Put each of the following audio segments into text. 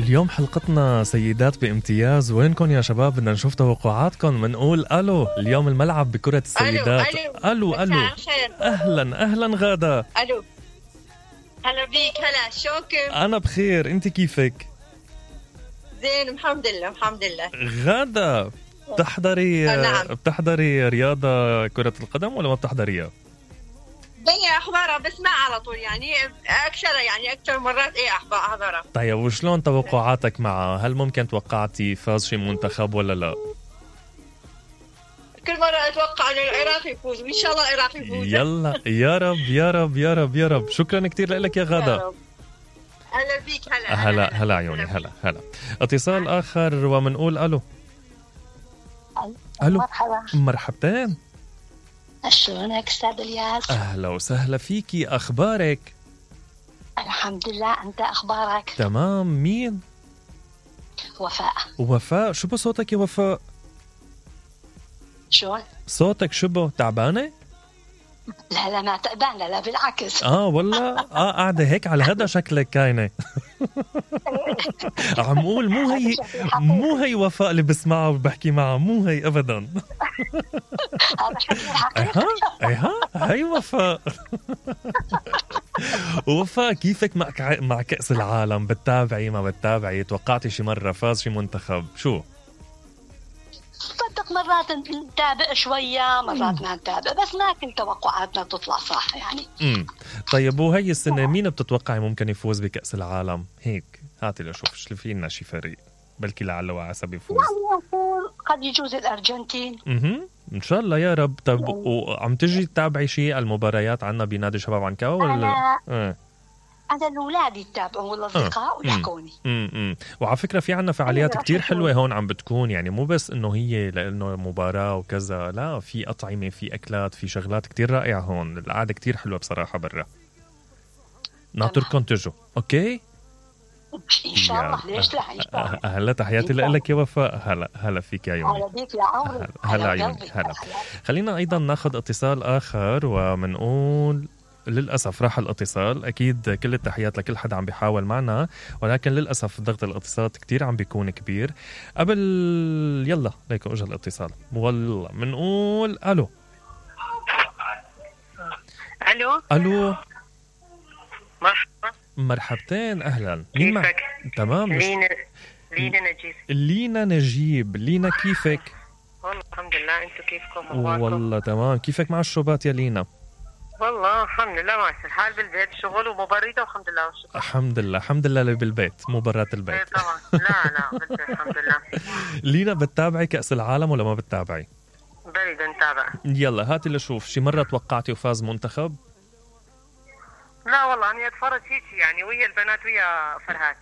اليوم حلقتنا سيدات بامتياز. وينكم يا شباب؟ بدنا نشوف توقعاتكم. بنقول الو. اليوم الملعب بكرة السيدات. الو اهلا اهلا غادة. الو هلا بيك. هلا شوك. انا بخير، انت كيفك؟ زين الحمد لله الحمد لله. غادة بتحضري رياضة كرة القدم ولا ما بتحضريها؟ بيا احضرها بس ما على طول، يعني اكثر مرات احضرها. طيب وشلون توقعاتك معها؟ هل ممكن توقعتي فاز شي منتخب ولا لا؟ كل مرة اتوقع انه العراق يفوز، وان شاء الله العراق يفوز. يلا يا رب يا رب يا رب يا رب. شكرا كتير لك يا غادة. هلا بيك. هلا عيوني. هلا اتصال اخر ومنقول الو. مرحبا. مرحبتين. شلونك استاذ الياس؟ اهلا وسهلا فيكي. اخبارك؟ الحمد لله، انت اخبارك؟ تمام. مين؟ وفاء. شو بصوتك يا وفاء؟ شلون؟ صوتك شبه تعبانه؟ لا ما تعبانه، لا بالعكس. والله قاعده هيك على هذا شكلك كاينه. عم قول مو هي وفاء اللي بسمعها وبحكي معها، مو هي ابدا. هذا شكل الحقيقة. هي وفاء. وفاء كيفك مع كأس العالم؟ بتتابعي ما بتتابعي؟ توقعتي شي مرة فاز شي منتخب؟ شو؟ صدق مرات نتابع شوية، مرات ما نتابع، بس ما كل توقعاتنا تطلع صح يعني. طيب وهي السنة مين بتتوقعي ممكن يفوز بكأس العالم؟ هيك هاتي لشوف شو في لنا شي فريق بلكي لعل وعسى بيفوز. يعني نقول قد يجوز الأرجنتين. ان شاء الله يا رب. طب وعم تجي تتابعي شيء المباريات عنا بنادي شباب عنكاوي ولا؟ أنا الأولاد يتابعوا والأصدقاء ويحكوني. وعلى فكرة في عنا فعاليات كتير حلوة هون عم بتكون، يعني مو بس إنه هي لأنه مباراة وكذا، لا في أطعمة، في أكلات، في شغلات كتير رائعة هون. القعدة كتير حلوة بصراحة برا. ناطركم تجوا. أوكي إن شاء الله. ليش لا؟ إن شاء الله. هلا تحياتي لك يا وفاء. هلا فيك يا عيوني. هلا بيك يا عمري. هلا عيوني. هلا. خلينا أيضا ناخد اتصال آخر ومنقول للأسف راح الاتصال. أكيد كل التحيات لكل حدا عم بيحاول معنا، ولكن للأسف ضغط الاتصالات كتير عم بيكون كبير. قبل يلا ليكو اجى الاتصال. والله منقول ألو. مرحبتين. أهلا. مين معك؟ تمام. لينا نجيب. لينا كيفك؟ والله الحمد لله. انتو كيفكم؟ والله تمام. كيفك مع الشوبات يا لينا؟ والله الحمد لله ماشي الحال بالبيت، شغل ومبرده والحمد لله والشكر. الحمد لله اللي بالبيت، مباراه البيت. طبعا. لا بالبيت الحمد لله. لينا بتتابعي كأس العالم ولا ما بتتابعي؟ بريد نتابع. يلا هاتي لشوف شي مرة توقعتي وفاز منتخب؟ لا والله أنا أتفرج هيك يعني ويا البنات ويا فرهاد.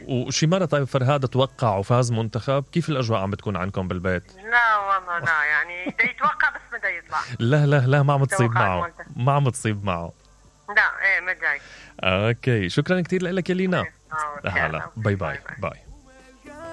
وشي مرة طيب فرهاد توقع وفاز منتخب؟ كيف الأجواء عم بتكون عندكم بالبيت؟ لا والله لا، يعني دا يتوقع بس ما دا يطلع. لا ما عم تصيب معه. ما عم تصيب معه. لا ما جاي. اوكي شكرا كتير لك يا لينا. هلا باي.